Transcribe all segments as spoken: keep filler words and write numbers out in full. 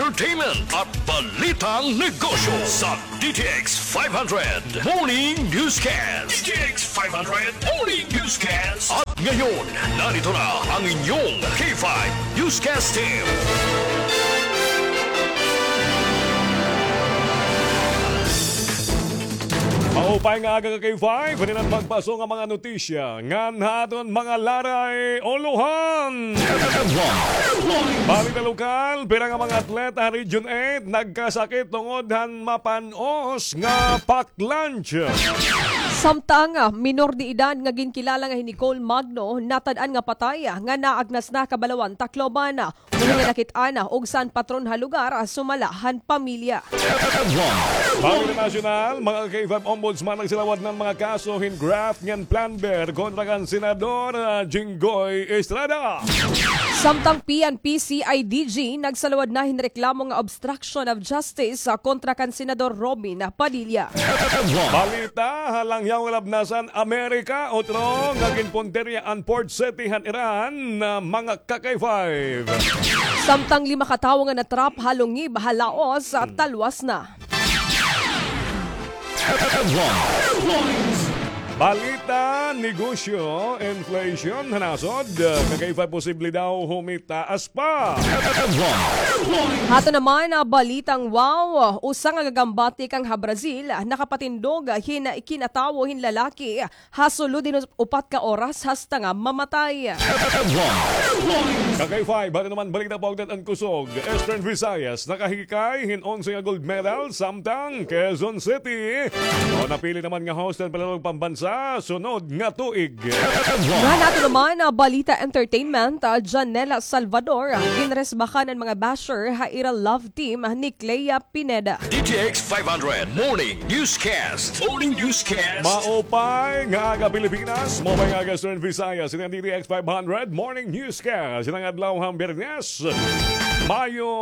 Entertainment at Balitang Negosyo sa D T X five hundred Morning Newscast. D T X five hundred Morning Newscast. At ngayon, narito na ang inyong K five Newscast Team. Maupay nga aga ka K five, hininan pagpaso nga mga notisya ngan ha aton mga laray ulohan. Balita lokal, pira nga mga atleta ha Region eight nagkasakit tungod han mapan-os nga pack lunch. Samtang, ah, minor de edad nga ginkilala nga hi Nicole Magno, natad-an nga patay, ah, nga naagnas na ha Kabalawan, Tacloban. Uri nga nakit-an na og san patron ha lugar, ah, sumala han pamilya. Balita nasyonal, mga K five Ombudsman, nagsalawad na han mga kaso hin graft ngan plunder kontra kan Senador, ah, Jinggoy Estrada. Samtang P N P C I D G nagsalawad na hin reklamo nga obstruction of justice, ah, kontra kan Senador Robin Padilla. Balita ha langyaw nga labnasan Amerika, utro nga ginpuntirya an port city han Iran, ah, mga ka-K five. Samtang lima ka tawo nga na-trap ha lungib ha Laos, ah, talwas na. Balita, negosyo, inflation ha nasod, ka-K five, posible daw humitaas pa. Hato naman, ah, balitang wow, usa nga gagambati kang ha Brazil, ah, nakapatindog, ah, hin kinatawo hin lalaki, ah, ha sulod hin upat ka oras hasta nga mamatay. Ka-K five, hato naman balita paugdan an kusog. Eastern Visayas, nakahikay hin onse nga gold medal, samtang Quezon City, o, napili naman nga host han Pananog Pambansa sunod nga tuig. Ngan hato naman, ah, balita entertainment, ah, Janela Salvador, ah, ginresbahan an mga basher ha ira love team ni Clea Pineda. D T X five hundred Morning Newscast. Morning Newscast. Maupay nga aga Pilipinas, maupay nga aga Eastern Visayas. Ini an D T X five hundred Morning Newscast. Ini an adlaw han Biyernes, Mayo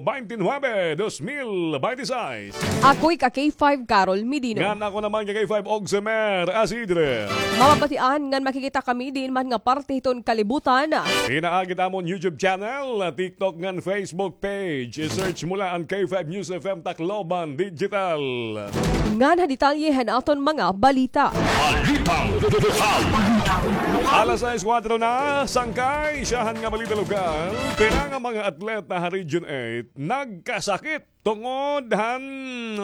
twenty-nine, dos mil twenty-six. Ako hi ka-K five Carol Medino. Ngan ako naman ka-K five Ogsemer Asidre. Mababatian ngan makikita kami diin man nga parte hiton kalibutan. Pinaagi it amon YouTube channel, TikTok ngan Facebook page. I-search mo la an K five News F M Tacloban Digital. Ngan ha detalye han aton mga balita. Balitang lokal. Alas sais kuwatro na, sangkay, syahan nga balita lokal. Pira nga mga atleta ha Region eight nagkasakit tungod han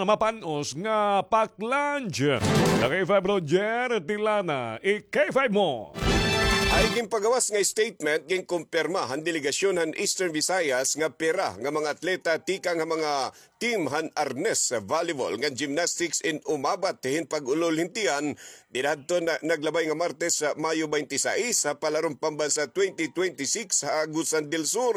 mapan-os nga pack lunch. Ka-K five Roger Tilana, i-K five mo. Hay ginpagawas nga statement, ginkumpirma han delegasyon han Eastern Visayas nga pira nga mga atleta tikang ha mga team han arnis, volleyball, ngan gymnastics in umabat hin pag-ulol hin tiyan dida hadton naglabay nga Martes, Mayo twenty-six, ha Palaron Pambansa twenty twenty-six ha Agusan del Sur.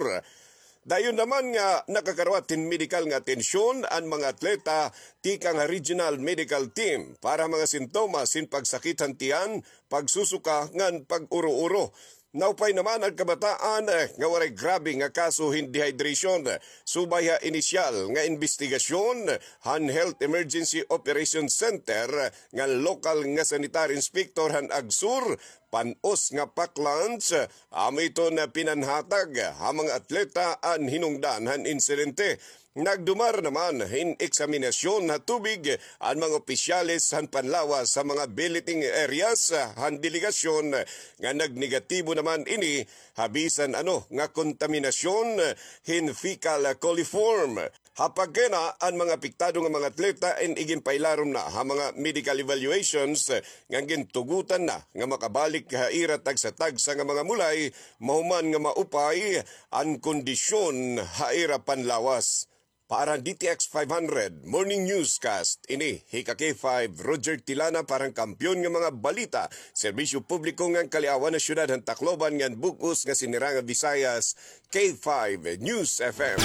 Dayon naman nga nakakarawat hin medikal nga atensyon an mga atleta tikang ha Regional Medical Team para ha mga sintomas hin pagsakit han tiyan, pagsusuka ngan pag-uro-uro. Naupay naman an kabataan, eh, nga waray grabe nga kaso hin dehydration. Subay ha inisyal nga imbestigasyon han Health Emergency Operation Center ngan lokal nga sanitary inspector han Agsur, pan-os nga pack lunch, amo iton pinanhatag ha mga atleta an hinungdan han insidente. Nagdumar naman hin eksaminasyon ha tubig an mga opisyales han panlawas ha mga billeting areas han delegasyon nga nagnegatibo naman ini ha bisan ano nga kontaminasyon hin fecal coliform. Ha pagkaina, an mga apektado nga mga atleta in iginpailarom na ha mga medical evaluations nga gintugotan na nga makabalik ha ira tagsa-tagsa nga mga mulay, mahuman nga maupay an kondisyon ha ira panlawas. Para D T X five hundred Morning Newscast, ini hi ka-K five Roger Tilana para han Kampiyon nga mga Balita, Serbisyo Publiko ngan Kaliawan ha Syudad han Tacloban ngan bug-os nga Siniranga Visayas, K five News F M.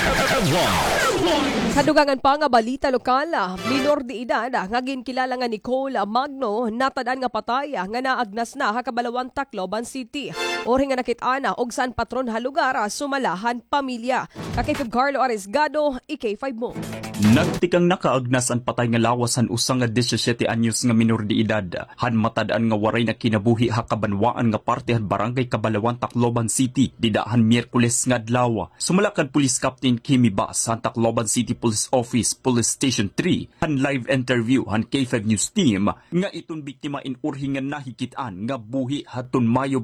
Sa dugangan pa nga balita lokal, minor de edad nga ginkilala nga Nicole Magno natad-an nga patay nga naagnas na ha Kabalawan, Tacloban City. Uri nga nakit-an og san patron ha lugar, sumala han pamilya. Ka-K five Carlo Arisgado, i-K five mo. Nagtikang nakaagnas an patay nga lawas han usa nga disisyete anyos nga minor de edad han matad-an nga waray na kinabuhi ha kabanwaan nga parte han Barangay Kabalawan, Tacloban City, dida han Miyerkules nga adlaw. Sumala kan Police Captain Kimi Bas han Tacloban City Police Office, Police Station three, han live interview han K five News Team, nga iton biktima in urhi nga nahikit-an nga buhi hadton Mayo